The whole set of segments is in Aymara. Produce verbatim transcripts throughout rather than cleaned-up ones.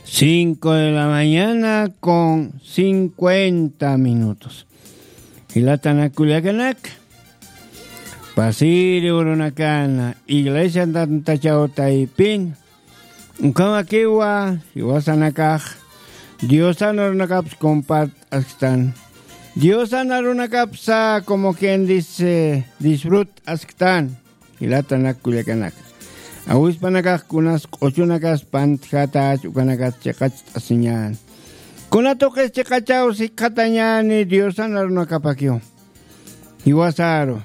Cinco de la mañana con cincuenta minutos. Jilatanak kullakanak, pasiri urunakana, iglesia tantachaw taypin, ukhamakiwa jiwasanakax Diosan arunakaps compart'asktan. Diosan arunakapsa, como quien dice, disfrut'asktan. Jilatanak kullakanak, awispanakax kunas q'uchunakas pantjatach, ukanakas chiqacht'asiñäni. Kuna tuqis chiqachaw sikxatañäni Diosan arunakapakiw. Jiwasaru,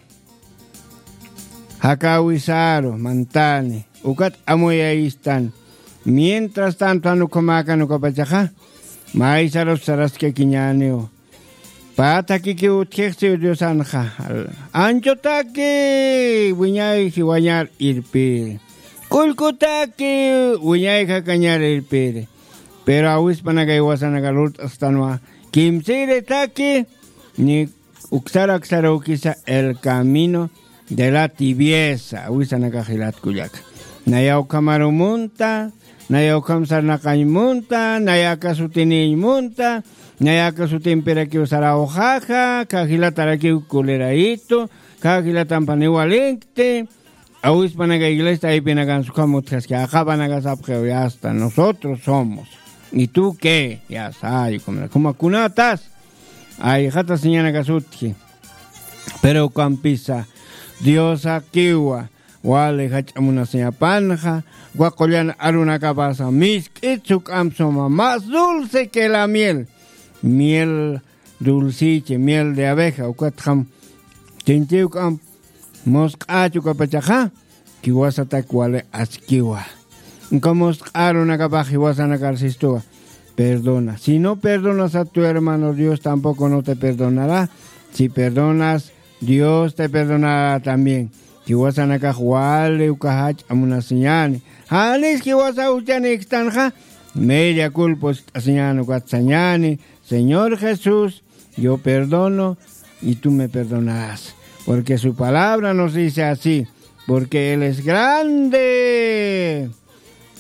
jakäwisaru mantani, ukat amuyayistan. Mientras tanto, jan ukhamäkan ukapachaxa, maysarus saraskakiñäniw. Pä thakikiw utjixsiw Diosanxa. Anchutaki wiñay jiwañar irpiri. Kullkutaki wiñay jakañar irpiri. Pero awispanakay jiwasanaka lurt'asktanwa, kimsiri thaki, ni uksar aksarukisa el camino de la tibieza, awisanakax jilat kullaka. Naya ukhamaru munta, naya ukham sarnaqañ munta, naya aka sutiniñ munta, naya aka sutimpirakiw sarawxaxa, kä jilatarakiw kulirayitu, kä jilatampan iwalinkti. Awispanaka iglesia taypinakansa ukham utjaski, aqapanaka sapxiw, ya está, nosotros somos. ¿Y tú qué? Ya está, ay, como, como kunatas, ay, jata señanakas utji. Pero ukampisa Diosakiwa wali jach'a munasiñapanxa, uka qullan arunakapasa misk'it suk'amp suma, más dulce que la miel, miel dulciche, miel de abeja, ukatxam chinchi juk'amp musq'äch ukapachaxa, jiwasatak wali askiwa. Uka musq'a arunakapax jiwasanakar sistuwa, perdona. Si no perdonas a tu hermano, Dios tampoco no te perdonará. Si perdonas, Dios te perdonará también. Jiwasanakax wali uka jach'a munasiñäni. Janis jiwasa juchanïkstanxa, media culpa usk'asiñäni, ukat sañäni: Señor Jesús, yo perdono y tú me perdonarás. Porque su palabra nos dice así: porque Él es grande.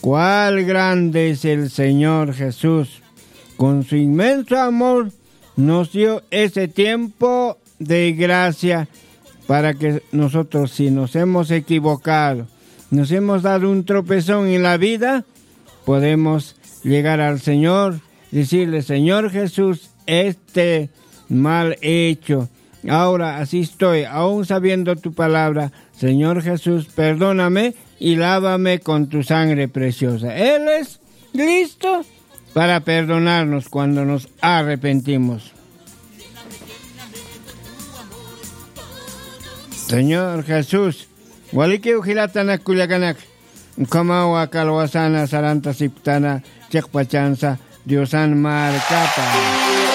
Cuál grande es el Señor Jesús. Con su inmenso amor nos dio ese tiempo de gracia para que nosotros, si nos hemos equivocado, nos hemos dado un tropezón en la vida, podemos llegar al Señor, decirle: Señor Jesús, este mal he hecho. Ahora así estoy, aún sabiendo tu palabra, Señor Jesús, perdóname y lávame con tu sangre preciosa. Él es listo para perdonarnos cuando nos arrepentimos. Señor Jesús, walikiw jilatanak kullakanak, ukhamawa kalwasana sarantasipktana chiqpachansa Diosan markapa.